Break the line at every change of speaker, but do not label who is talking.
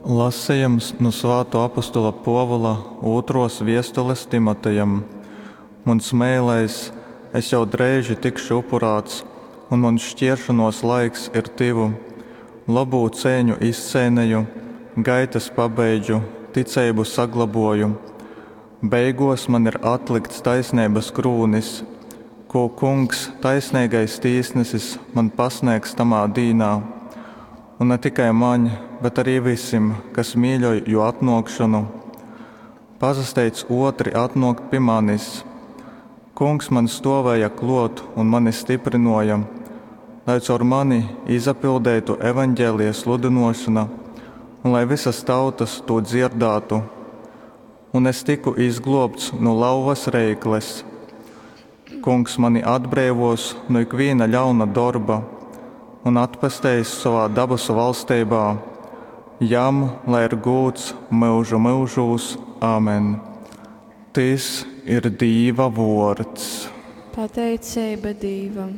Lasejums nu svātō apostola Pōvula ūtrōs viestules Timotejam. Muns meilais, es jau dreiži tikšu upurāts, un muns škieršonōs laiks ir tyvu. Lobū ceiņu izceineju, gaitas pabeidžu, ticeibu saglobōju. Beigōs man ir atlykts taisneibas krūnis, kū Kungs, taisneigais tīsnesis, man pasnēgs tamā dīnā. Un na tikai maņ, bet arī vysim, kas mīļoj Jō atnōkšonu. Pasasteidz ōtri atnōkt pi manis. Kungs maņ stōvēja klōt un mani styprynōja, lai caur mani izapildeitu Evangelija sludynōšona un lai vysas tautas tū dzierdātu. Un es tyku izglōbts nu lauvas reikles. Kungs mani atbreivōs nu ikvīna ļauna dorba un atpesteis sovā dabasu valsteibā. Jam lai ir gūds myužu myužūs. Amen. Tys ir Dīva vōrds.
Pateiceiba Dīvam.